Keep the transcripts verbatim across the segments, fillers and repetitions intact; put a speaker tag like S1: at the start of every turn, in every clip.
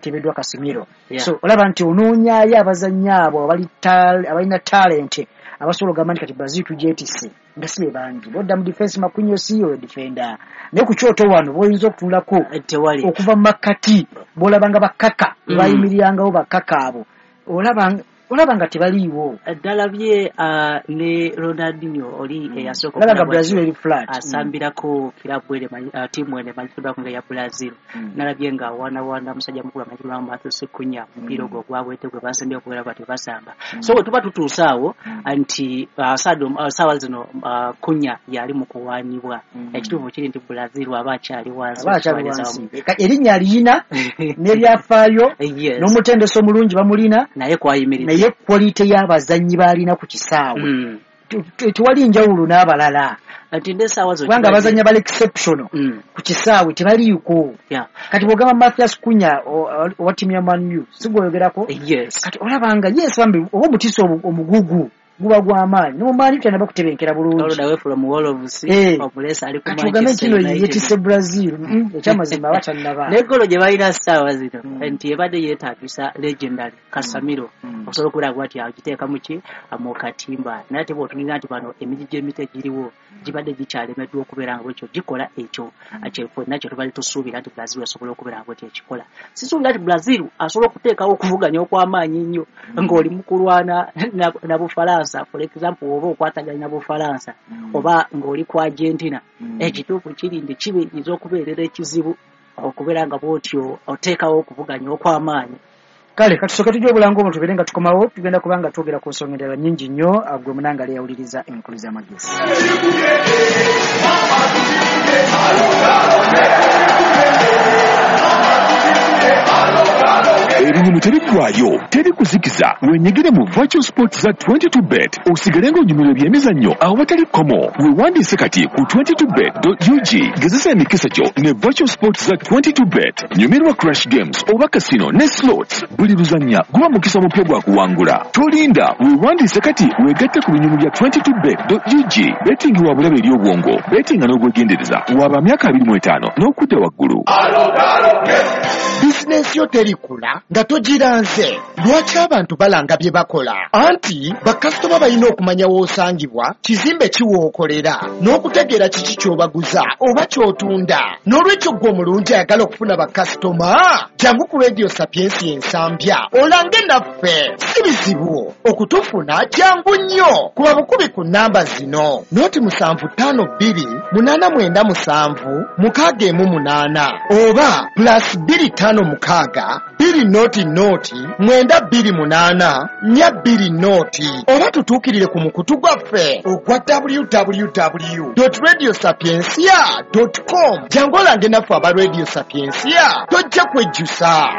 S1: Tebeddwa Casemiro.
S2: Yeah.
S1: So olaba nti onoonyaayo abazannyi abo abali tal- abalina talent abasobola okugamba nti kati Brazil tugyetisse, nga si be bangi. Bodda mu defense, Marquinhos oyo defender, naye ku kyoto wano bw'oyinza okutunulako
S2: tewali.
S1: Okuva mu makkati bw'olabanga bakaka
S2: Mm.
S1: bayimirirangawo, bakaka abo olaba olaba nga tebaliiwo.
S2: Ddalabye uh, ne Ronaldinho oli eyasooka
S1: Olaba nga
S2: okulabwa
S1: Brazil eri flat.
S2: Asambirako kirabu ene manyi- uh, tiimu ene emanyikiddwako nga eya Brazil.
S1: Mm.
S2: Nalabye nga awaanawaana musajja mukulu amanyikiddwa nga Matheus Cunha, omupiira ogwo ogwabwete gwe basembye okubeera bati basamba. So bwe tuba tutuuse awo nti uh, saado- uh, saawa zino uh, Cunha yali mu kuwaanibwa.
S1: Mm.
S2: Ekituufu kiri nti Brazil aba akyali wansi
S1: Aba akyali
S2: okutwaliza
S1: wansi.
S2: wamu.
S1: Ka- erinnya aliyina n'ebyafaayo
S2: Yes.
S1: n'omutendesi omulungi bamulina,
S2: naye kwayimiridde.
S1: Naye quality y'abazannyi b'alina ku kisaawe
S2: Mm.
S1: te- te- tewali njawulo n'abalala,
S2: Nti n'essaawa zino
S1: kubanga abazannyi abali exceptional
S2: Mm.
S1: ku kisaawe tebaliiko.
S2: Yeah.
S1: Kati bw'ogamba Mathias Cunha o- owa ttiimu ya Man U, si gweoyogerako?
S2: Yes.
S1: Kati olaba nga yes, bambi oba omutiisa obu- omugugu guba gw'amaanyi, ne mu Man U tanaba kutebenkera bulungi.
S2: All the way from Wolves,
S1: Eh.
S2: omulesi ali ku
S1: Kati ogambe
S2: Manchester
S1: kino
S2: United.
S1: yetisse Brazil, Mm, ekyamazima aba tannaba.
S2: N'eggolo gye balina ssaawa zino
S1: Mm.
S2: nti ebadde yeetagisa legendary Casemiro
S1: Mm.
S2: okusobola okubeera nti agiteeka mu ki, mu katimba. Naye ate bw'otunulira nti bano emigigi emito egiriwo gibadde gikyalemeddwa okubeera nga bwekyo gikola ekyo ffenna kye tubadde tusuubira nti Brazil esobola okubeera nga bwetyo ekikola. Sisuubira nti Brazil asobola okuteekawo okuvuganya okw'amaanyi ennyo ng'oli mu kulwana na, na Bufalansa, for example, oba okwataganya na Bufalansa oba ng'oli ku Argentina. Ekituufu kiri nti kiyinza okubeerera ekizibu okubeera nga bwotyo oteekawo okuvuganya okw'amaanyi.
S1: Kale katusooke tujja obulango obwo, tubeere nga tukomawo, tugenda kuba nga twogera ku nsonga endala nnyingi nnyo. Gwe munanga yawuliriza enkulu z'amagezi.
S3: Ebinyumu tebiggwayo, teri kuzikiza. Wenyigire mu virtual sports za twenty-two bet, osigale ng'onyumirwa ebyemizannyo awatali kkomo. Weewandiise kati ku twenty-two bet dot U G. Gezesa emikisa gyo ne virtual sports za twenty-two bet. Nyumirwa crash games oba casino ne slots. Buli luzannya guba mukisa mupya gwa kuwangula. Tolinda, weewandiise kati weegatte ku binyumu bya twenty-two bet dot U G. Betting wa bulabe eri obwongo. Bettinga n'obwegendereza. Waba myaka abiri mu etaano n'okudda waggulu.
S4: Bizinensi yo terikula nga togiranze. Lwaki abantu balanga bye bakola? Anti bakasitoma balina okumanya w'osangibwa, kizimbe kiwookolera, n'okutegeera kiki ky'obaguza oba ky'otunda. N'olwekyo ggwe omulungi ayagala okufuna bakasitoma, jangu ku Radio Sapiensi Ensambya olange naffe. Si bizibu okutufuna, jangu nnyo. Kuba bukubi ku nnamba zino: noti musanvu ttaano bbiri munaana mwenda musanvu mukaaga emu munaana oba plus bbiri ttaano mukaaga bbiri noti noti mwenda bbiri munaana nnya bbiri noti, oba tutuukirire ku mukutu gwaffe ogwa W W W radio sapiencia com. Jangu olange naffe aba Radio Sapiencia, tojja kwejjusa.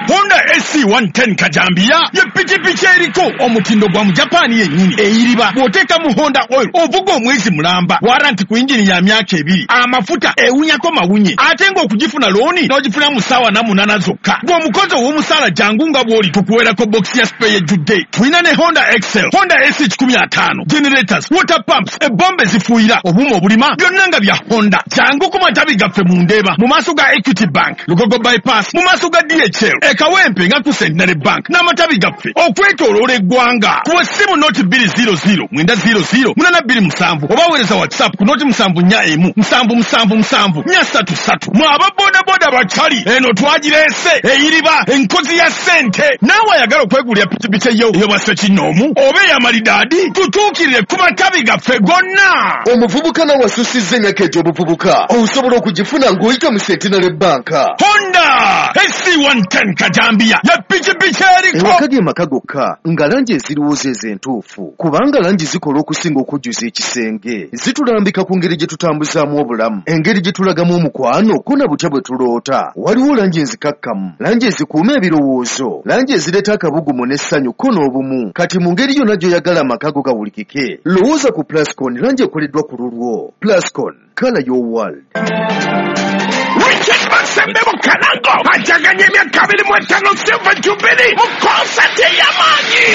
S3: Honda S C one ten kajambiya ye pikipiki eriko omutindo gwa mu Japaani yennyini. Eyiriba bw'oteeka mu Honda oil ovuga omwezi mulamba, warranty ku yingini ya myaka ebiri, amafuta ewunyako mawunye, ate ng'okugifuna looni n'ogifuna mu ssaawa na munaana zokka. Bw'omukozi ow'omusaala, jangu nga bw'oli tukuweerako bokisi ya spare ejjudde. Tulina ne Honda Excel, Honda S C kikumi ataano, generators, water pumps, ebombe zifuuyira, obuuma obulima, byonna nga bya Honda. Jangu ku matabi gaffe mu Ndeeba mu maaso ga Equity Bank, Lugogo Bypass mu maaso ga D H L, e Kawempe nga ku Centenary Bank, n'amatabi gaffe okwetooloola eggwanga. Kuba essimu noti bbiri zero zero mwenda zero zero munaana bbiri musanvu oba weereza WhatsApp ku noti musanvu nnya emu musanvu musanvu musanvu nnya ssatu ssatu. Mwe aba bodaboda bakyali eno twagireese, eyiriba enkozi ya ssente. Naawe ayagala okwegulira pikipiki eyo ey'obwa ssekinnoomu oba ey'amalidaadi, tutuukirire ku matabi gaffe gonna.
S5: Omuvubuka nawe asusizza emyaka egy'obuvubuka, osobola okugifuna ng'oyita mu Centenary Bank.
S3: Honda S C one ten kajambiya ya pikipiki eriko.
S5: Ewaka ge maka gokka nga langi eziriwo zeezo entuufu, kubanga langi zikola okusinga okujjuza ekisenge. Zitulambika ku ngeri gye tutambuzaamu obulamu, engeri gye tulagamu omukwano, ko na butya bwe tuloota. Waliwo langi enzikakkamu, langi ezikuuma ebirowoozo, langi ezireeta akabugumu n'essanyu ko n'obumu. Kati mu ngeri yonna gy'oyagala amaka go gawulikike, lowooza ku Plascon, langi ekoleddwa ku lulwo. Plascon, color your world.
S3: Richard Masembe Bukalango ajaganya emyaka abiri mu etaano Silver Jubilee mu konsati ey'amaanyi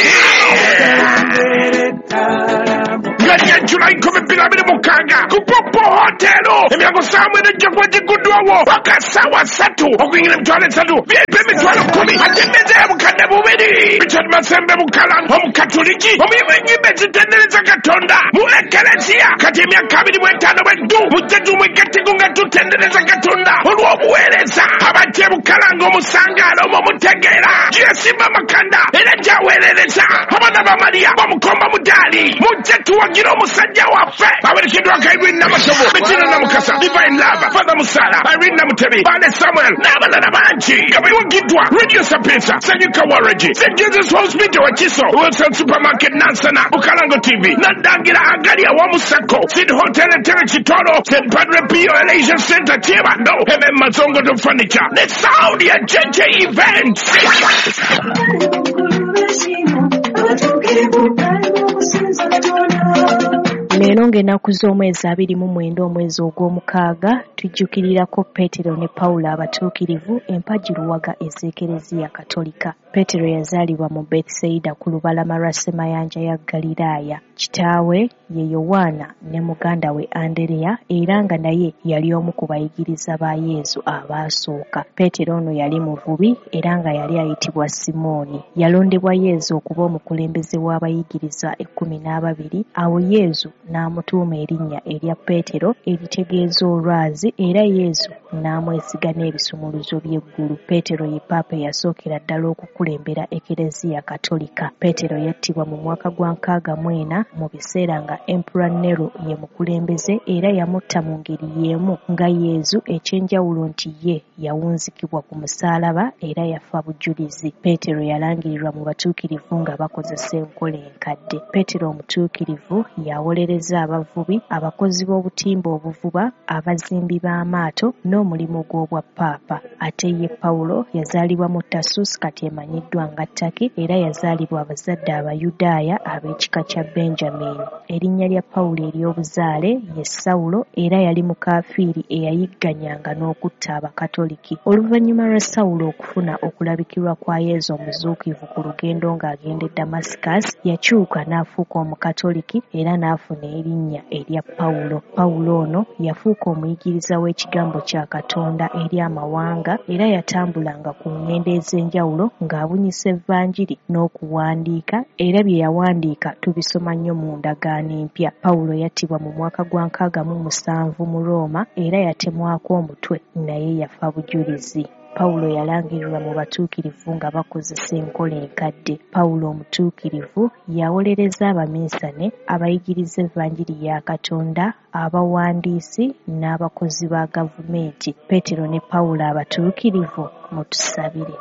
S3: nga lya Julayi nkumi bbiri abiri mukaaga ku Popo Hotel. Hotel. Emyango ssaawa mwenda ejja kuba gigguddwawo paka ssaawa ssatu okuyingira emitwalo esatu V I P emitwalo kkumi ate emmeeza ya bukadde bubiri. Richard Masembe Bukalango omukatuliki omuyimbi w'ennyimba ezitendereza Katonda mu Ekereziya kati emyaka abiri mu etaano bweddu mujje tumwegatteko nga tutendereza Katonda olw'obuweereza. Abajja e Bukalango omusangaalo omwo mutegeera gyeyasimba amakanda era gyaweerereza abaana ba Mariya bamukomba mudaali. Mujje tuwagire omusajja waffe. Awerekeddwako Irene Namatovu, Bettina Namukasa, Divine Love, Father Musala, Irene Namutebi, Bale Samuel n'abalala bangi nga bawagiddwa Radio Sapienza, Sanyuka Waregi, Saint Jesus Hospital Wakiso, Wilson Supermarket Nansana, Bukalango T V, Nadangira Agali Awamusako, Sid Hotel Entebbe Kitoro, Saint Padre Pio Elation Center Kyebando, M M Mazongo to Furniture, ne Sound ya J J Events.
S6: Leero ng'ennaku z'omwezi abiri mu mwenda omwezi ogw'omukaaga tujjukirirako Peetero ne Pawulo abatuukirivu empagi luwaga ez'Ekereziya Katolika. Peetero yazaalibwa mu Bethsaida ku lubalama lwa Ssemayanja ya Ggaliraaya. Kitaawe ye Yowaana ne muganda we Andereya era nga naye yali omu ku bayigiriza ba Yesu abaasooka. Peetero ono yali muvubi era nga yali ayitibwa Simooni. Yalondebwa Yesu okuba omukulembeze w'abayigiriza ekkumi n'ababiri. Awo Yesu n'amutuuma erinnya erya Peetero eritegeeza olwazi era Yesu n'amwesiga n'ebisumuluzo by'eggulu. Peetero ye Paapa eyasookera ddala okukulembera Ekereziya Katolika. Peetero yattibwa mu mwaka gwa nkaaga mu ena mu biseera nga Emperor Nero ye mukulembeze era yamutta mu ngeri y'emu nga Yesu, eky'enjawulo nti ye yawunzikibwa ku musaalaba era yafa bujulizi. Peetero yalangirirwa mu batuukirivu nga bakozesa enkola enkadde. Peetero omutuukirivu yawolereza abavubi, abakozi b'obutimba obuvuba, abazimbi b'amaato n'omulimu gw'obwa Paapa. Ate ye Pawulo yazaalibwa mu Tarsus kati emanyiddwa nga Turkey era yazaalibwa abazadde Abayudaaya ab'ekika kya Benjamin. Erinnya lya Pawulo ery'obuzaale ye Sawulo era yali mukafiiri eyayigganyanga n'okutta Abakatoliki. Oluvannyuma lwa Sawulo okufuna okulabikirwa kwa Yesu omuzuukivu ku lugendo ng'agenda e Damascus, yakyuka n'afuuka Omukatoliki era n'afuna erinnya erya Pawulo. Pawulo ono yafuuka omuyigiriza w'ekigambo kya Katonda eri amawanga era yatambulanga ku ngendo ez'enjawulo ng'abunyisa Evanjiri n'okuwandiika era bye yawandiika tubisoma nnyo mu ndagaano empya. Pawulo yattibwa mu mwaka gwa nkaaga mu musanvu mu Rooma era yatemwako omutwe naye yafa bujulizi. Pawulo yalangirirwa mu batuukirivu nga bakozesa enkola enkadde. Pawulo omutuukirivu yawolereza abaminsane, abayigiriza Evanjiri ya Katonda, abawandiisi n'abakozi ba gavumenti. Peetero ne Pawulo abatuukirivu mutusabire.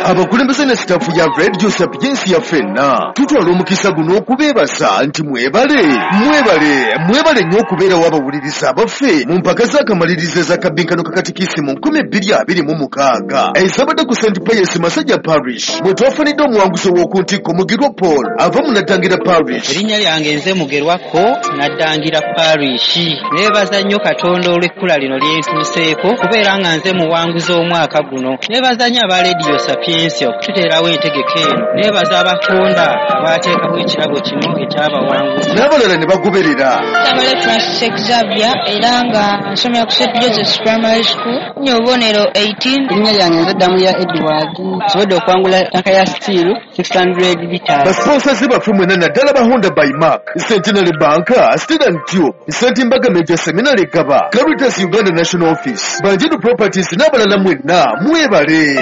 S5: Abakulembeze ne sitaafu ya Radio Sapiensia ya ffenna tutwala omukisa guno okubeebasa nti mwebale mwebale mwebale nnyo okubeerawo abawuliriza abaffe mu mpaka z'akamalirizo ez'akabbinkano ka katikisimu nkumi bbiri abiri mu mukaaga ezabadde ku Saint Pius Masajja Parish bwe twafunidde omuwanguzi ow'oku ntikko Mugerwa Paul ava mu Naddangira Parish.
S7: Erinnya lyange nze Mugerwako Naddangira Parish. Neebaza nnyo Katonda olw'ekkula lino lye ntuuseeko kubeera nga nze muwanguzi omwaka guno. Neebaza nnyo aba Radio Sapiensia okututeerawo entegeka eno. Neebaza abakonda abateekawo ekirabo kino ekyabawanguzi
S5: n'abalala ne bagoberera.
S8: Tabale Francis Xavier era nga nsomera ku Saint Joseph's Primary School nyo obubonero eighteen.
S7: Erinnya lyange nze Ddamuya Edward. Nsobodde okuwangula ttanka ya steel six hundred liters.
S5: Basponsors baffe mwenna naddala ba Honda by Mark, Centenary Bank, Steel and Tube, Saint Mbaga Major Seminary Gaba, Caritas Uganda National Office, Banjidu Properties n'abalala mwenna mwebale.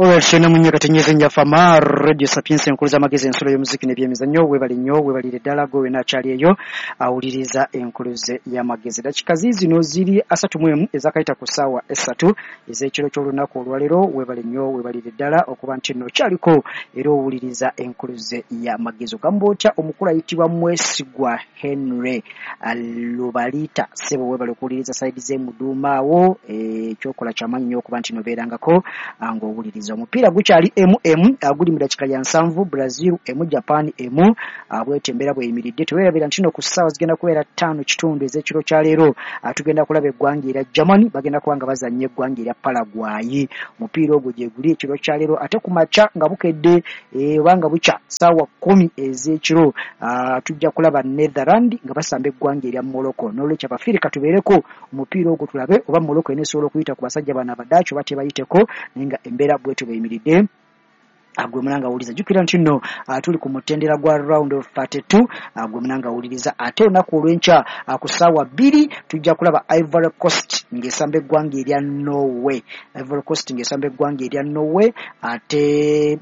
S1: Olwekyo munye katenyeze njafama Radio Sapiensia enkulu z'amagezi ensulo y'omuziki n'ebyemizannyo. Weebale nnyo, weebalire ddala gwe wena akyali eyo awuliriza enkuluze y'amagezi. Dakika ziizino ziri asatu mu emu ezakayita ku ssaawa essatu ez'ekiro ky'olunaku olwaleero. Weebale nnyo, weebalire ddala okuba nti nno okyaliko era owuliriza enkuluze y'amagezi. Ogamba otya omukulu ayitibwa Mwesigwa Henry Lubalita? Ssebo weebale okuwuliriza sayidi z'emuduuma awo. Ekyokola kyamaanyi nnyo okuba nti nobeerangako ng'owuliriza. Stars. Omupiira gukyali emu emu, guli mu dakiika ya nsanvu, Brazil emu Japan emu. Bwetyo embeera bweyimiridde. Teweerabira nti no ku ssaawa zigenda kubeera ttaano kitundu ez'ekiro kya leero, tugenda kulaba eggwanga erya Germany bagenda kuba nga bazannya eggwanga erya Paraguay. Omupiira ogwo gye guli ekiro kya leero. Ate ku makya nga bukedde oba nga bukya ssaawa kkumi ez'ekiro, tujja kulaba Netherland nga basamba eggwanga erya Morocco. N'olwekyo Abafirika tubeereko omupiira ogwo tulabe oba Morocco eneesobola okuyita ku basajja bano Abadaaki oba tebayiteko, naye nga embeera bwetyo bweyimiridde. Gwe munanga wuliriza, jjukira nti nno tuli ku mutendera gwa round of thirty-two. Gwe munanga wuliriza, ate olunaku olw'enkya ku ssaawa bbiri tujja kulaba Ivory Coast ng'esamba eggwanga erya Norway. Ivory Coast ng'esamba eggwanga erya Norway. Ate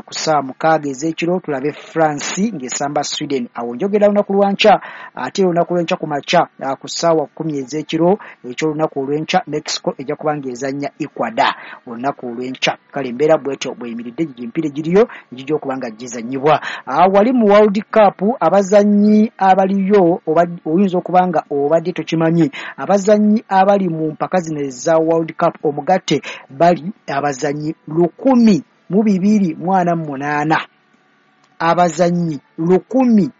S1: ku ssaawa mukaaga ez'ekiro tulabe France ng'esamba Sweden. Awo njogera lunaku lwankya. Ate olunaku lw'enkya ku makya ku ssaawa kkumi ez'ekiro eky'olunaku olw'enkya, Mexico ejja kuba ng'ezannya Ecuador olunaku olw'enkya. Kale embeera bwetyo bweyimiridde, emipiira egiriyo egijja okuba nga gizannyibwa. Wali mu World Cup abazannyi abaliyo, oyinza okuba nga obadde tokimanyi, abazannyi abali mu mpaka zino eza World Cup omugatte bali abazannyi lukumi mu bibiri mu ana mu munaana. Abazannyi lukumi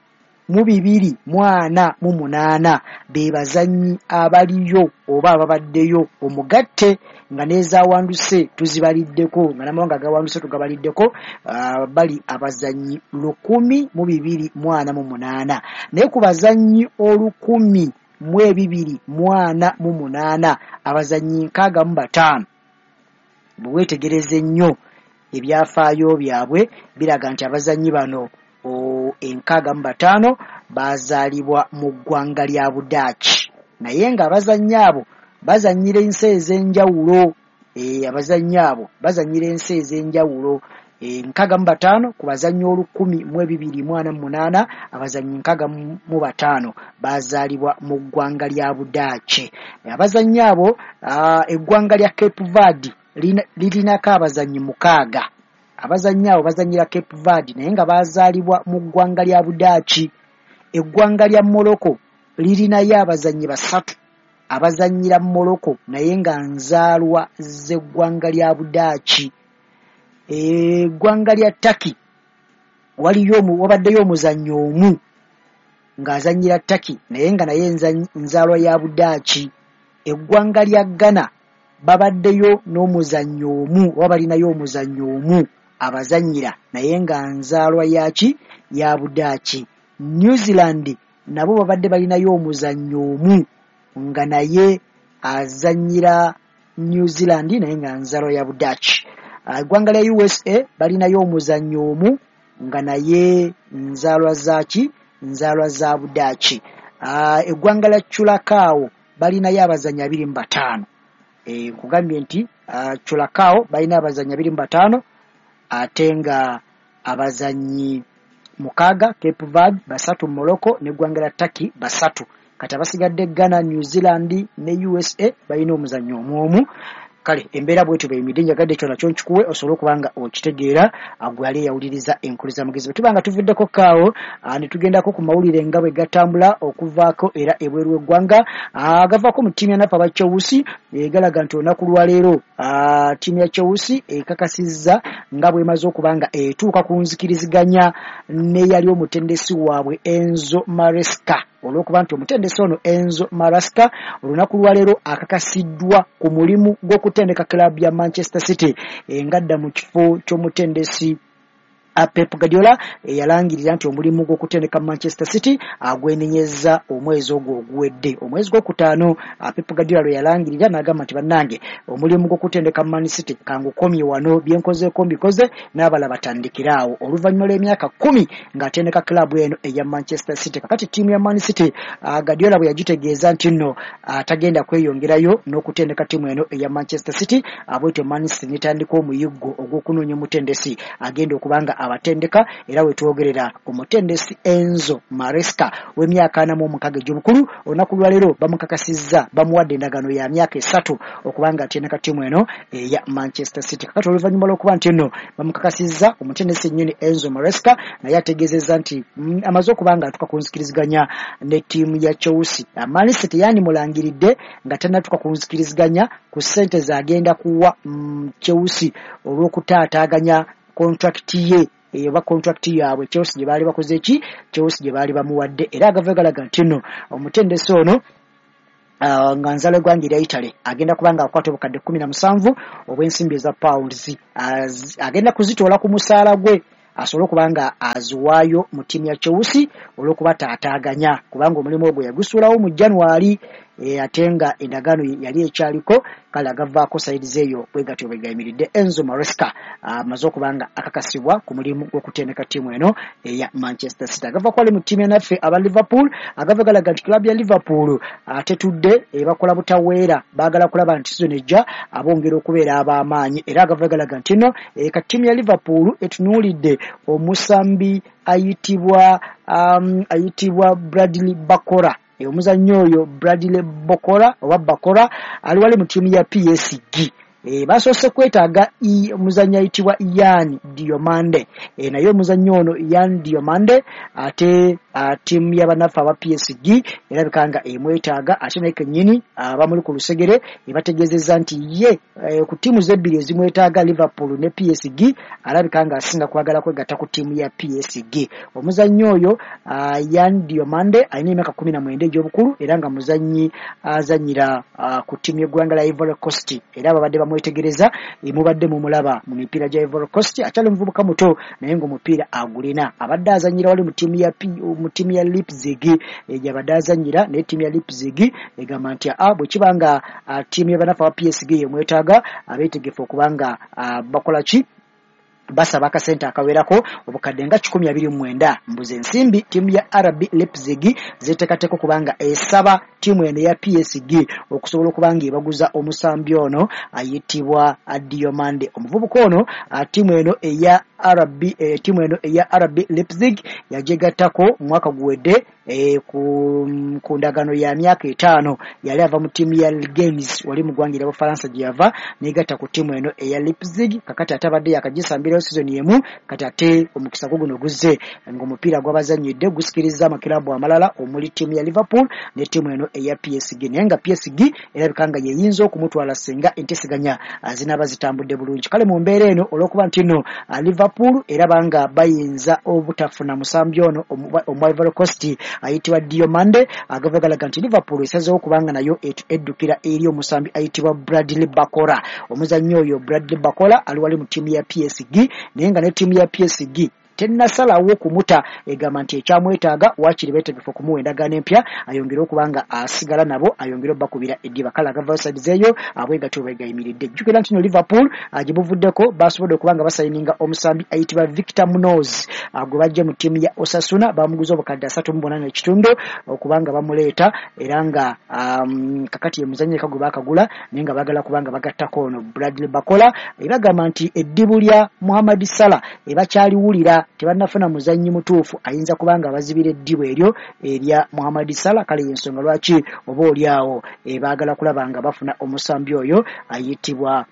S1: mu bibiri mu ana mu munaana be bazannyi abaliyo oba ababaddeyo omugatte, nga n'ezawanduse tuzibaliddeko, nga n'amawanga agawanduse tugabaliddeko, bali abazannyi lukumi mu bibiri mu ana mu munaana. Naye ku bazannyi olukumi mu ebibiri mu ana mu munaana, abazannyi nkaaga mu bataano bwe weetegereza ennyo ebyafaayo byabwe biraga nti abazannyi bano enkaaga mu bataano bazaalibwa mu ggwanga lya Budaaki, naye ng'abazannyi abo bazannyira ensi ez'enjawulo. Abazannyi abo bazannyira ensi ez'enjawulo. Nkaaga mu bataano ku bazannyi olukumi mu ebibiri mu ana mu munaana, abazannyi nkaaga mu bataano bazaalibwa mu ggwanga lya Budaaki. Abazannyi abo, eggwanga lya Cape Verde lirinako abazannyi mukaaga. Abazannyi abo bazannyira Cape Verde naye nga bazaalibwa mu ggwanga lya Budaaki. Eggwanga lya Morocco lirinayo abazannyi basatu abazannyira Morocco naye nga nzaalwa z'eggwanga lya Budaaki. Eggwanga lya Turkey waliyo wabaddeyo omuzannyi omu ng'azannyira Turkey naye nga naye nzaalwa ya Budaaki. Eggwanga lya Ghana babaddeyo n'omuzannyi omu oba balinayo omuzannyi omu abazannyira naye nga nzaalwa yaki ya Budaaki. New Zealand nabo babadde balinayo omuzannyi omu nga naye azannyira New Zealand naye nga nzaalwa ya Budaaki. Eggwanga lya U S A balinayo omuzannyi omu nga naye nzaalwa zaaki nzaalwa za Budaaki. Eggwanga lya Curacao balinayo abazannyi abiri mu bataano. Nkugambye nti Curacao balina abazannyi abiri mu bataano, ate nga abazannyi mukaaga Cape Verde basatu, Morocco n'eggwanga lya Turkey basatu. Kati abasigadde Ghana, New Zealand ne U S A balina omuzannyi omu omu. Kale embeera bwetyo bweyimiridde, njagadde ekyo nakyo nkikuwe osobole okuba nga okitegeera gwe ali eyawuliriza enkulu z'amagezi. Bwe tuba nga tuvuddeko kaawo ne tugendako ku mawulire nga bwe gatambula okuvaako era ebweru w'eggwanga, agavaako mu ttiimu ya naffe aba Chelsea galaga nti olunaku lwaleero ttiimu ya Chelsea ekakasizza nga bw'emaze okuba nga etuuka ku nzikiriziganya n'eyali omutendesi waabwe Enzo Maresca. Olw'okuba nti omutendesi ono Enzo Maresca olunaku lwaleero akakasiddwa ku mulimu gw'okutendeka club ya Manchester City ngadda mu kifo ky'omutendesi Pep Guardiola eyalangirira nti omulimu gw'okutendeka Manchester City agwenenyeza omwezi ogwo oguwedde. Omwezi gw'okutaano Pep Guardiola lwe yalangirira n'agamba nti bannange omulimu gw'okutendeka Man City kangukomye wano, byenkozeeko mbikoze n'abalala batandikire awo. Oluvannyuma lw'emyaka kkumi ng'atendeka club eno eya Manchester City. Kakati ttiimu ya Man City Guardiola bwe yagitegeeza nti nno atagenda kweyongerayo n'okutendeka ttiimu eno eya Manchester City, bwetyo Man City n'etandika omuyiggo ogw'okunoonya omutendesi agenda okuba nga abatendeka era wetwogerera omutendesi Enzo Maresca w'emyaka ana mu mukaaga egy'obukulu olunaku lwaleero bamukakasizza bamuwadde endagaano ya myaka esatu okubanga atendeka ttiimu eno eya Manchester City. Kakati oluvannyuma lw'okuba nti nno bamukakasizza omutendesi nnyini Enzo Maresca naye ategeezezza nti mm, amaze okuba nga atuuka ku nzikiriziganya ne ttiimu ya Chelsea. Man City yandimulangiridde nga tannatuuka ku nzikiriziganya ku ssente z'agenda kuwa mm, Chelsea olw'okutaataaganya kontrakiti ye oba kontrakiti yaabwe Chelsea gye baali bakoze ki Chelsea gye baali bamuwadde. Era agava galaga nti nno omutendesi ono Uh, nga nzala eggwanga erya Italy agenda kuba nga akwata obukadde kkumi na musanvu obw'ensimbi eza pounds agenda kuzitoola ku musaala gwe asobole okuba nga aziwaayo mu ttiimu ya Chelsea olw'okubataataaganya kubanga omulimu ogwo yagusuulawo mu January e, ate nga endagaano yali ekyaliko. Kale agavaako saidi eyo bwe gatyo bwe gayimiridde. Enzo Maresca amaze okuba nga akakasibwa ku mulimu gw'okutendeka ttiimu eno eya Manchester City. Agavaako ali mu ttiimu yanaffe aba Liverpool agava galaga nti club ya Liverpool atetudde ebakola butaweera baagala kulaba nti season ejja abongera okubeera ab'amaanyi. Era agava galaga nti nno ka ttiimu ya Liverpool etunuulidde omusambi ayitibwa um, ayitibwa Bradley Barcola. Omuzannyi oyo Bradley Barcola oba Barcola ali wali mu ttiimu ya P S G. E, basoose kwetaaga omuzannyi ayitibwa Yan Diomande. E, naye omuzannyi ono Yan Diomande ate ttiimu y'abannaffe aba P S G erabika nga emwetaaga ate naye kennyini abamuli ku lusegere ebategeezezza nti ye e, ku ttiimu zebbiri ezimwetaaga Liverpool ne P S G alabika nga asinga kwagala kwegatta ku ttiimu ya P S G. Omuzannyi oyo Yan Diomande alina emyaka kkumi na mwenda egy'obukulu era nga muzannyi azannyira ku ttiimu y'eggwanga lya Ivory Coast era babadde bamwetegereza mubadde mumulaba mu mipiira gya Ivory Coast akyali muvubuka muto naye ng'omupiira agulina. Abadde azannyira wali mu ttiimu ya mu ttiimu ya Leipzig gy'abadde azannyira naye ttiimu ya Leipzig egamba nti a bwe kiba nga ttiimu y'abanafu aba P S G yemwetaaga abeetegefu okuba nga bakola ki basaba akasente akawerako obukadde nga kikumi abiri mu mwenda mbuze ensimbi ttiimu ya R B Leipzig zeteekateeka okubanga esaba ttiimu eno ya P S G okusobola okuba nga ebaguza omusambi ono ayitibwa Diomande. Omuvubuka ono ttiimu eno eya R B ttiimu eno eya R B Leipzig yajegattako mwaka guwedde e, ku, ku ndagaano ya myaka etaano. Yali ava mu ttiimu ya Games wali mu ggwanga erya Bufalansa gye yava neegatta ku ttiimu eno eya Leipzig. Kakati ate abadde yakagisambirayo season emu kati ate omukisa gwo guno guzze ng'omupiira gw'abazannyidde gusikiriza amakiraabu amalala omuli ttiimu ya Liverpool ne ttiimu eno eya P S G naye nga P S G erabika nga yeyinza okumutwala singa enteeseganya zinaaba zitambudde bulungi. Kale mu mbeera eno olw'okuba nti nno Liverpool eraba nga bayinza obutafuna musambi ono omwa Ivory Coast ayitibwa Diomande agava galaga nti Liverpool esazeewo okubanga nayo eddukira eri omusambi ayitibwa Bradley Barcola. Omuzannyi oyo Bradley Barcola ali wali mu ttiimu ya P S G naye nga ne ttiimu ya P S G tennasalawo kumuta egamba nti ekyamwetaaga waakiri beetegefu okumuwa endagaano empya ayongere okuba nga asigala nabo ayongere obbakubira eddiba. Kale agavayo saidi eyo abwe gatyo bwe gayimiridde. Jjukira nti no Liverpool gye buvuddeko basobodde okuba nga basayininga omusambi ayitibwa Victor Munoz gwe bajja mu ttiimu ya Osasuna bamuguza obukadde asatu mu bunaana ekitundu okuba nga bamuleeta era nga um, kakati ye muzannyi eka gwe baakagula naye nga baagala kuba nga bagattako ono Bradley Barcola. Ebagamba nti eddibu lya Mohamed Salah ebakyaliwulira tebannafuna muzannyi mutuufu ayinza kubanga abazibira eddibu eryo erya Mohamed Salah. Kale y'ensonga lwaki oba oli awo baagala kulaba nga bafuna omusambi oyo ayitibwa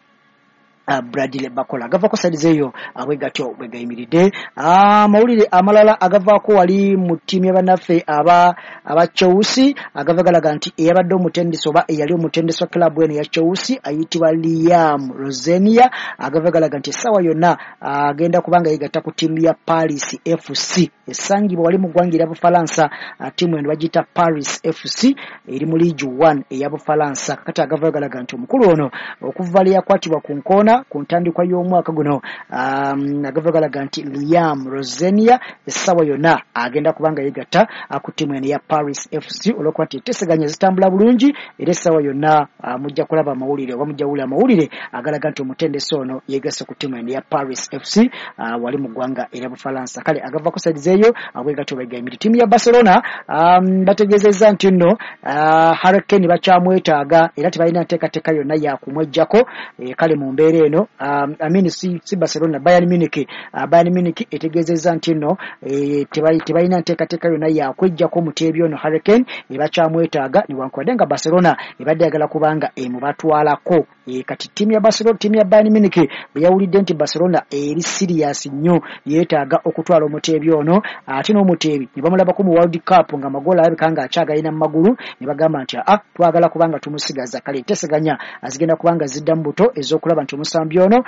S1: Bradley Barcola. Agavaako saidi eyo abwe gatyo bwe gayimiridde. Amawulire amalala agavaako wali mu ttiimu y'abannaffe aba aba Chelsea agava galaga nti eyabadde omutendesi oba eyali omutendesi wa club eno ya Chelsea ayitibwa Liam Rosenia agava galaga nti essaawa yonna agenda kubanga yeegatta ku ttiimu ya Paris F C esangibwa wali mu ggwanga erya Bufalansa. Ttiimu eno bagiyita Paris F C eri mu Ligue one eya Bufalansa. Kakati agava galaga nti omukulu ono okuva lwe yakwatibwa ku nkoona ku ntandikwa y'omwaka guno um, agava galaga nti Liam Rosenia essaawa yonna agenda kubanga yeegatta ku ttiimu eno ya Paris F C olw'okuba nti enteeseganya zitambula bulungi era essaawa yonna mujja kulaba amawulire oba mujja kuwulira amawulire agalaga nti omutendesi ono yeegasse ku ttiimu eno ya Paris F C uh, wali mu ggwanga erya Bufalansa. Kale agavako saidi eyo abwegatyo bwegayimiridde. Ttiimu ya Barcelona um, bategeezezza nti nno uh, Harry Kane bakyamwetaaga era tebalina nteekateeka yonna ya kumweggyako. E, kale mu mbeera eno um, I mean si, si Barcelona, Bayern Munich. uh, Bayern Munich etegeezezza nti nno e, tebalina nteekateeka yonna yakwejjako muteebi ono Harry Kane, ebakyamwetaaga newankubadde nga Barcelona ebadde yagala kubanga emubatwalako. E, kati ttiimu ya Barcelona, ttiimu ya Bayern Munich bwe yawulidde nti Barcelona eri serious nnyo yeetaaga okutwala omuteebi ono, ate n'omuteebi ne bamulabako mu World Cup nga amagoolo alabika nga akyagalina mu magulu, ne bagamba nti ah, twagala kubanga tumusigaza. Kale enteeseganya azigenda kubanga zidda mu buto ez'okulaba nti omusambi ono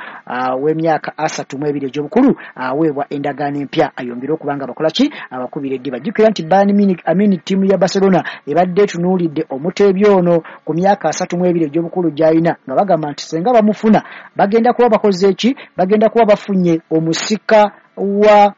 S1: w'emyaka asatu mu ebiri egy'obukulu aweebwa endagaano empya ayongere okubanga bakola ki, abakubira eddiba. Jjukira nti Bayern Munich, I mean ttiimu ya Barcelona ebadde etunuulidde omuteebi ono ku myaka asatu mu ebiri egy'obukulu gy'alina, nga bagamba nti senga bamufuna bagenda kuba bakoze eki, bagenda kuba bafunye omusika wa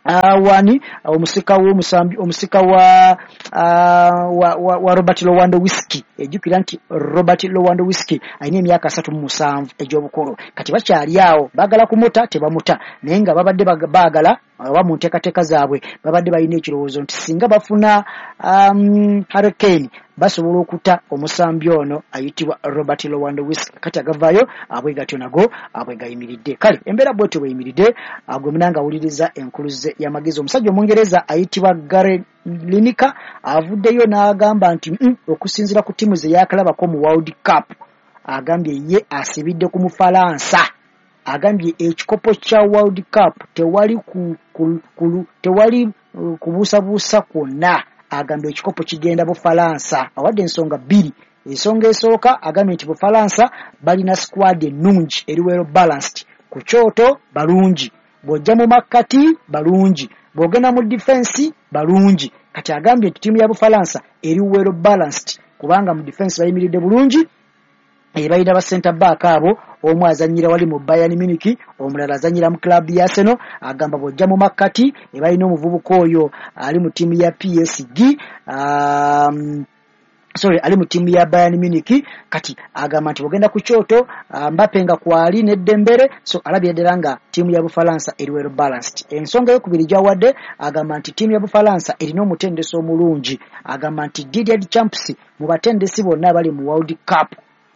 S1: Uh, wani omusika w'omusambi omusika wa, uh, wa, wa, wa Robert Lewandowski. Ejjukira nti Robert Lewandowski alina emyaka asatu mu musanvu egy'obukulu. Kati bakyali awo baagala kumuta tebamuta, naye nga babadde baagala oba mu nteekateeka zaabwe babadde balina ekirowoozo nti singa bafuna um, Harry Kane basobola okuta omusambi ono ayitibwa Robert Lewandowski. Kati agavaayo abwe gatyo nago abwe gayimiridde. Kale embeera bwetyo bweyimiridde, gwe munanga awuliriza enkuluze y'amagezi. Omusajja Omungereza ayitibwa Gary Lineker avuddeyo n'agamba nti mm, okusinziira ku ttiimu ze yakalabako mu World Cup, agambye ye asibidde ku Mufalansa. Agambye ekikopo kya World Cup tewali ku, ku, ku, tewali uh, kubuusabuusa kwonna. Agambye ekikopo kigenda Bufalansa. Awadde ensonga bbiri. Ensonga esooka agambye nti Bufalansa balina squad ennungi eri well balanced, ku kyoto balungi, bw'ojja mu makkati balungi, bw'ogenda mu defense balungi. Kati agambye nti ttiimu ya Bufalansa eri well balanced kubanga mu defense bayimiridde bulungi, balina ba center back abo, omu azannyira wali mu Bayern Munich, omulala azannyira mu club ya Arsenal. Agamba bw'ojja mu makkati balina omuvubuka oyo ali mu ttiimu ya P S G, um, sorry ali mu ttiimu ya Bayern Munich. Kati agamba nti bw'ogenda ku kyoto Mbappe nga kwali ne Dembele, so alabye ddala nga ttiimu ya Bufalansa eri well balanced. Ensonga eyokubiri gy'awadde agamba nti ttiimu ya Bufalansa erina omutendesi omulungi. Agamba nti Didier Deschamps mu batendesi bonna abali mu World Cup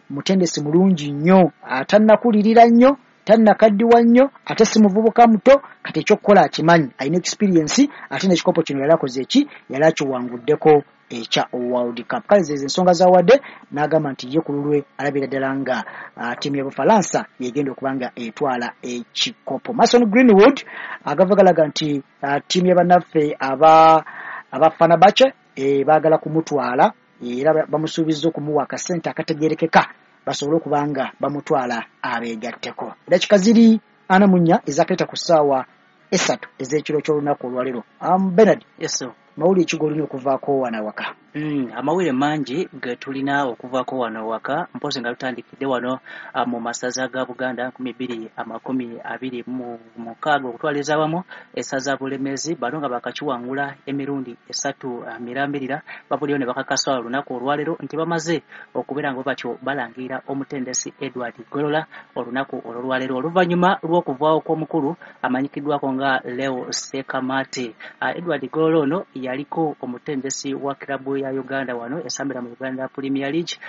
S1: mutendesi mulungi nnyo, atannakulirira nnyo, tannakaddiwa nnyo, ate si muvubuka muto. Kati ekyokukola akimanyi, alina experience, ate n'ekikopo kino yali akoze eki, yali akiwanguddeko ekya World Cup. Kale zezo ensonga zawadde n'agamba nti ye ku lulwe alabira ddala nga ttiimu ya Bufalansa yegenda okuba nga etwala ekikopo. Mason Greenwood agava galaga nti ttiimu ya bannaffe aba aba Fenerbahce e, baagala kumutwala, era bamusuubizza okumuwa akasente akategeerekeka basobole okuba nga bamutwala abeegatteko. Eddakiika ziri ana mu nnya ezaakeeta ku ssaawa esatu ez'ekiro ky'olunaku olwaleero. Um, Bernard,
S2: yes sir.
S1: Mawulire ki g'olina okuvaako wano awaka?
S2: Mm, amawulire mangi ge tulina okuvaako wano waka, mpozi nga tutandikidde wano mu masaza ga Buganda nkumi bbiri amakumi abiri mu mukaaga okutwaliza awamu essaza Bulemezi bano nga bakakiwangula emirundi esatu mirambirira bavuddeyo ne bakakasa olunaku olwaleero nti bamaze okubeera nga batyo balangirira omutendesi Edward Golola olunaku olwaleero oluvannyuma lw'okuvaawo kw'omukulu amanyikiddwako nga Leo Sekamate. Uh, Edward Golola ono yaliko omutendesi wa klabu ya Uganda wano esambira mu Uganda Premier League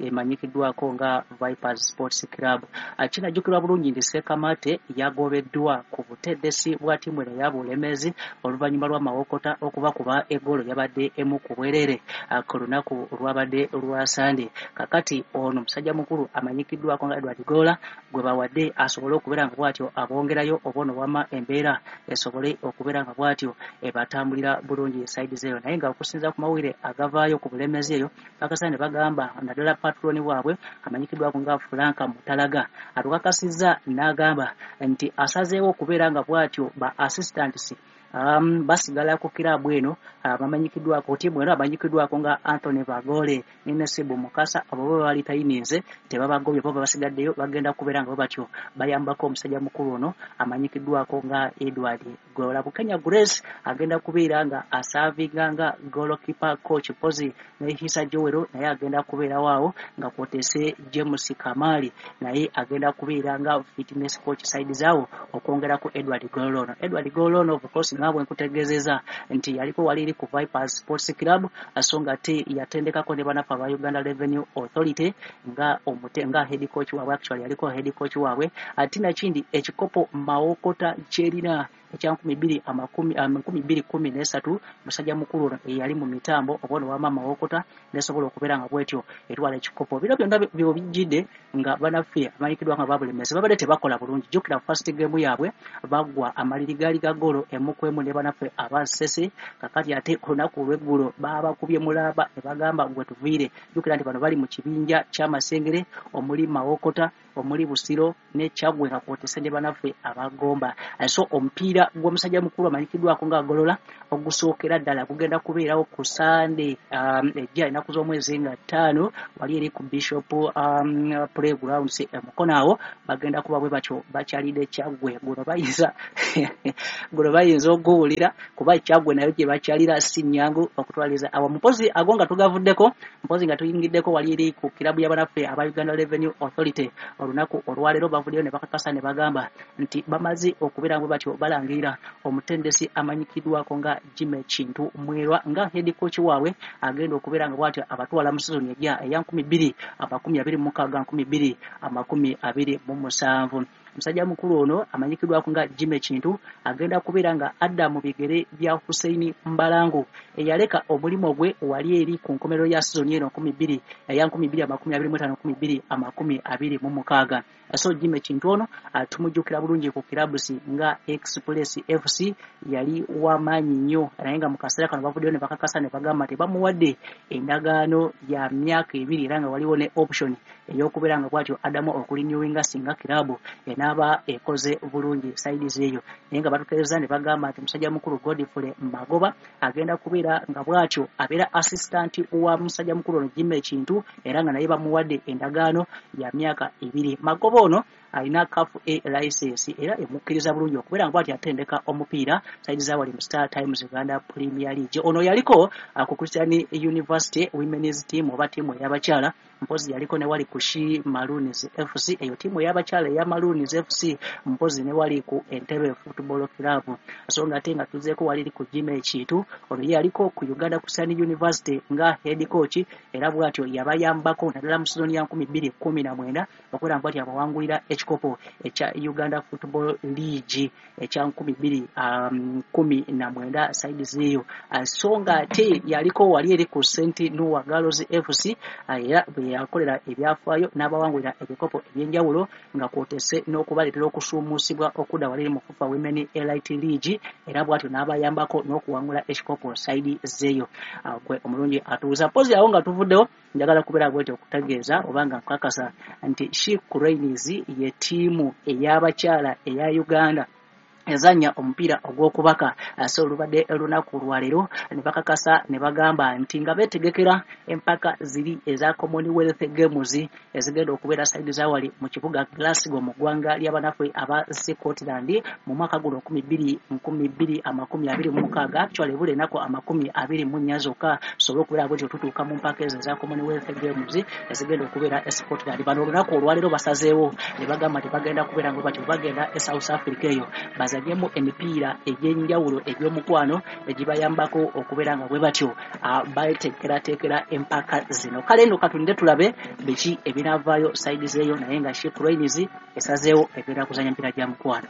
S2: emanyikiddwako nga Vipers Sports Club. Kinajjukirwa bulungi nti Sekamate yagobeddwa ku butendesi bwa ttiimu eno eya Bulemezi oluvannyuma lw'amawokota okubakuba eggoolo yabadde emu ku bwerere ku lunaku lwabadde lwa Sande. Kakati ono musajja mukulu amanyikiddwako nga Edward Golola gwe bawadde asobole okubeera nga bw'atyo abongerayo obono wama embeera esobole okubeera nga bw'atyo ebatambulira bulungi saidi zeyo. Naye nga okusinza ku mawulire agavaayo ku Bulemezi eyo bakasa ne bagamba naddala patroni waabwe amanyikiddwako nga Frank Mutalaga atukakasizza n'agamba nti asazeewo okubeera nga bw'atyo ba assistants Um, basigala ku kiraabu eno abamanyikiddwako ttiimu eno amanyikiddwako nga Anthony Bagole ne Nasibu Mukasa abo bo bali tayininze tebabagobye bo basigaddeyo bagenda kubeera nga batyo bayambako omusajja mukulu ono amanyikiddwako nga Edward Golola. Bukenya Grace agenda kubeera nga asaavinga nga goalkeeper coach Pozi ne Hisa Joel naye agenda kubeera waawo nga kwotese James Kamali naye agenda kubeera nga fitness coach side zaawo okwongerako Edward Golola ono. Edward Golola ono of course Nga bwe nkutegeezeza nti yaliko wali eri ku Vipers Sports Club, so nga ate yatendekako ne banafe aba Uganda Revenue Authority nga omute nga head coach waabwe, actually yaliko head coach waabwe. Ate nakindi ekikopo Mawokota kyerina ekya nkumi bbiri amakumi nkumi bbiri kumi n'esatu, musajja mukulu ono eyali mu mitambo oba wama Mawokota nesobola okubeera nga bwetyo etwala ekikopo. Bino byonna byo bijjidde nga banaffe amanyikiddwa nga Babulemezi babadde tebakola bulungi. Jjukira first game yaabwe baggwa amaliri gaali ga ggoolo emu ku emu ne banaffe aba Ssese. Kakati ate ku lunaku olw'eggulo baabakubye mulaba ne bagamba gwe tuviire. Jjukira nti bano bali mu kibinja ky'Amasengere omuli Mawokota, omuli Busiro ne Kyaggwe nga kwotese ne banaffe Abagomba. So omupiira gw'omusajja mukulu amanyikiddwako nga Golola ogusookera ddala gugenda kubeerawo ku Sande um, ejja ennaku z'omwezi nga ttaano wali eri ku Bishop um, Playgrounds e Mukono. Awo bagenda kuba bwe batyo bakyalidde Kyaggwe. Guno bayinza guno bayinza oguwulira kuba Kyaggwe nayo gye bakyalira si nnyangu okutwaliza awo. Mpozi ago nga tugavuddeko, mpozi nga tuyingiddeko wali eri ku kirabu y'abanaffe aba Uganda Revenue Authority, olunaku olwaleero bavuddeyo ne bakakasa ne bagamba nti bamaze okubeera bwe batyo balangirira omutendesi amanyikiddwako nga Jimmy Kintu Mwerwa nga head coach waabwe agenda okubeera nga bw'atyo abatwala mu sizoni ejja eya nkumi bbiri amakumi abiri mu mukaaga nkumi bbiri amakumi abiri mu musanvu. Musajja mukulu ono amanyikiddwako nga Jimmy Kintu agenda kubeera nga adda mu bigere bya Hussein Mbalangu eyaleka omulimu gwe wali eri ku nkomerero ya sizoni eno nkumi bbiri eya nkumi bbiri amakumi abiri mu ttaano nkumi bbiri amakumi abiri mu mukaaga. So Jimmy Kintu ono tumujjukira bulungi ku clubs nga Express F C, yali wamaanyi nnyo, naye nga mu kaseera kano bavuddeyo ne bakakasa ne bagamba nti bamuwadde endagaano ya myaka ebiri era nga waliwo ne option ey'okubeera nga bw'atyo addamu okurenewinga singa kirabu enaaba ekoze bulungi sides eyo. Naye nga batutegeeza ne bagamba nti musajja mukulu Godfrey Magoba agenda kubeera nga bw'atyo abeera assistant wa musajja mukulu ono Jimmy Kintu, era nga naye bamuwadde endagaano ya myaka ebiri. Magoba ono alina CAF A license era emukkiriza bulungi okubeera nga bw'atyo atendeka omupiira side za wali mu Star Times Uganda Premier League. Ono yaliko ku Christian University Women's Team oba ttiimu ey'abakyala, mpozi yaliko ne wali ku She Maroons F C, eyo ttiimu ey'abakyala eya Maroons F C, mpozi ne wali ku Entebbe Football Club. So nga ate nga tuzeeko wali ku Jimmy Kintu, ono ye yaliko ku Uganda Christian University nga head coach, era bw'atyo yabayambako naddala mu sizoni ya nkumi bbiri kumi na mwenda okubeera nga bw'atyo abawangulira ekikopo ekya Uganda Football League ekya nkumi bbiri um, kumi na mwenda sides eyo. So nga ate yaliko wali eri ku Saint Noah Girls F C, era bwe yakolera ebyafaayo n'abawangulira ebikopo ebyenjawulo nga kwotese n'okubaleetera okusuumuusibwa okudda wali mu FUFA Women Elite League, era bw'atyo n'abayambako n'okuwangula ekikopo side zeeyo. Gwe omulungi atuuza, mpozi awo nga tuvuddewo, njagala kubeera bwetyo okutegeeza oba nga nkakasa nti She Cranes ye ttiimu ey'abakyala eya Uganda ezannya omupiira ogw'okubaka. So olubadde lunaku lwaleero ne bakakasa ne bagamba nti nga beetegekera empaka ziri eza Commonwealth Games ezigenda okubeera side zawali mu kibuga Glasgow mu ggwanga ly'abanaffe aba Scotland mu mwaka guno nkumi bbiri nkumi bbiri amakumi abiri mu mukaaga. Actually ebula ennaku amakumi abiri mu nnya zokka sobole okubeera bwetyo tutuuka mu mpaka ezo eza Commonwealth Games ezigenda okubeera e Scotland. Bano olunaku olwaleero basazeewo ne bagamba nti bagenda kubeera nga batyo bagenda e South Africa eyo bazanyemu emipiira egy'enjawulo egy'omukwano egibayambako okubeera nga bwe batyo bateekerateekera empaka zino. Kale nno katulinde tulabe biki ebinaavaayo side zeeyo, naye nga She Cranes esazeewo egenda kuzanya emipiira gya mukwano.